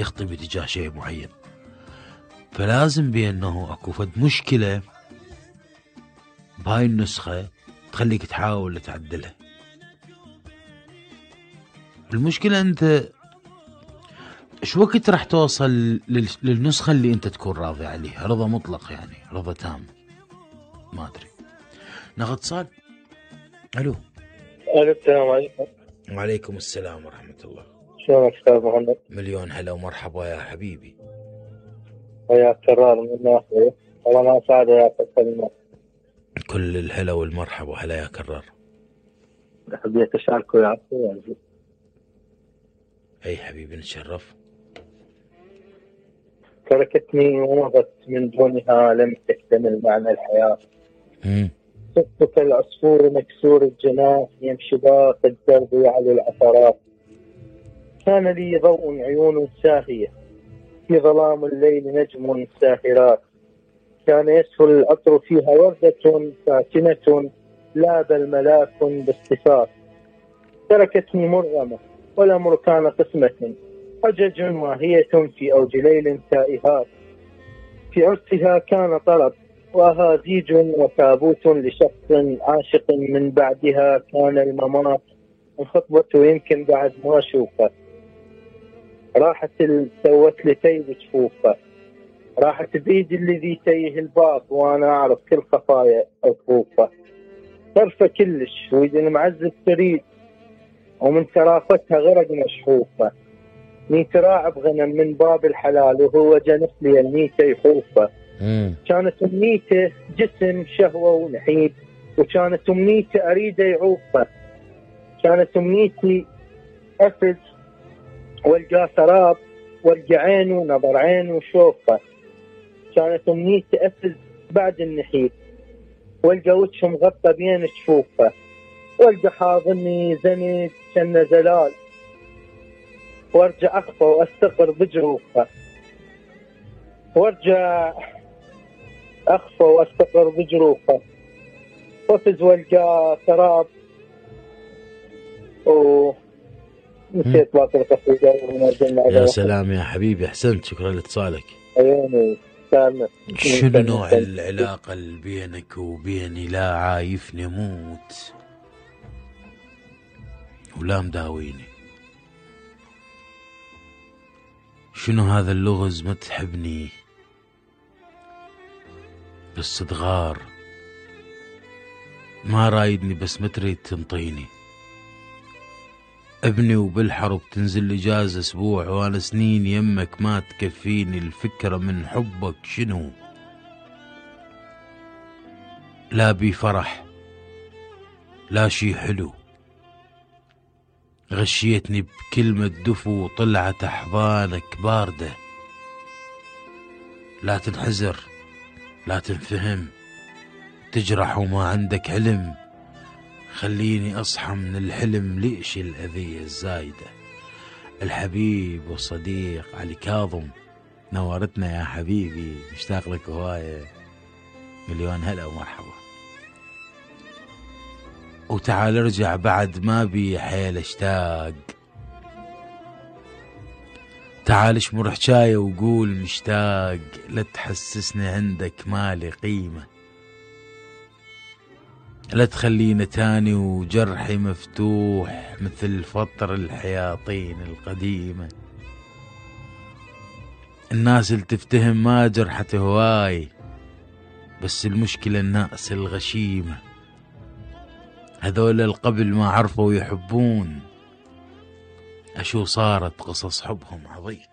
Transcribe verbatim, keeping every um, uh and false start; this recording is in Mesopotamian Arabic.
يخطي باتجاه شيء معين، فلازم بأنه اكو فد مشكلة بهاي النسخة تخليك تحاول تعدلها. المشكلة انت شو وقت راح توصل للنسخة اللي انت تكون راضي عليها، رضا مطلق يعني، رضا تام؟ ما ادري. ناخذ اتصال. الو. الو السلام عليكم. وعليكم السلام ورحمة الله. شلونك استاذ محمد؟ مليون هلا ومرحبا يا حبيبي. وياك كرار من الناصري، والله ما سعد وياك الكلمات. كل الهلا والمرحبا. هلا يا كرار. حبيت اشارك وياك. اي حبيبي نتشرف. تركتني ومضت من دونها لم تكتمل معنى الحياة. امم صرت كالعصفور مكسور الجناح يمشي باق الدرب على العثرات. كان لي ضوء عيون ساهية في ظلام الليل نجم ساهرات. كان يسهل العطر فيها وردة ساكنة لا بل ملاك باصطفاف. تركتني مرغمة والأمر كان قسمة، حجج واهية في أوج ليل تائهات. في عرسها كان طرب وأهازيج وتابوت لشخص عاشق، من بعدها كان الممات. الخطبة يمكن بعد ما أشوفه، راحت سوت لي تيب جفوفه، راحت بيدي الذي تيه الباب وأنا أعرف كل خفايا أطوفه. طرفة كلش ويد المعزز تريد، ومن ترافتها غرق مشحوفة. نيت راعب غنم من باب الحلال وهو جنس لي النيته يحوفه. كانت امنيته جسم شهوة ونحيب، وكانت امنيته اريده يعوفه. كانت امنيتي افز والقى سراب والقى عين ونظر عين وشوفه. كانت امنيتي افز بعد النحيب والقى وجه مغطى بين جفوفه، والقى حاضني زند كان زلال، وارجع اخفى واستقر بجروفه. وارجع اخفى واستقر بجروفه، وافز والقى سراب و نسيت باقي القصيده. يا سلام يا حبيبي، احسنت، شكرا لاتصالك. عيوني سامع. شنو نوع العلاقة اللي بينك وبيني؟ لا عايفني موت ولا مداويني. شنو هذا اللغز؟ ما تحبني بس تغار، ما رايدني بس ما تريد تنطيني. ابني وبالحرب تنزل اجازة اسبوع وانا سنين يمك ما تكفيني. الفكرة من حبك شنو؟ لا بي فرح لا شي حلو، غشيتني بكلمة دفو وطلعت احضانك باردة. لا تنحزر لا تنفهم، تجرح وما عندك علم. خليني اصحى من الحلم، ليش الاذية الزايدة؟ الحبيب والصديق علي كاظم، نورتنا يا حبيبي، مشتاق لك هواية. مليون هلا ومرحبا. وتعال ارجع بعد ما بي حيل اشتاق، تعال اشمر حجاية وقول مشتاق. لا تحسسني عندك مالي قيمة، لا تخلينا تاني وجرحي مفتوح مثل فطر الحياطين القديمة. الناس اللي تفتهم ما جرحت هواي، بس المشكلة الناس الغشيمة، هذول القبل ما عرفوا يحبون. أشو صارت قصص حبهم عظيمة.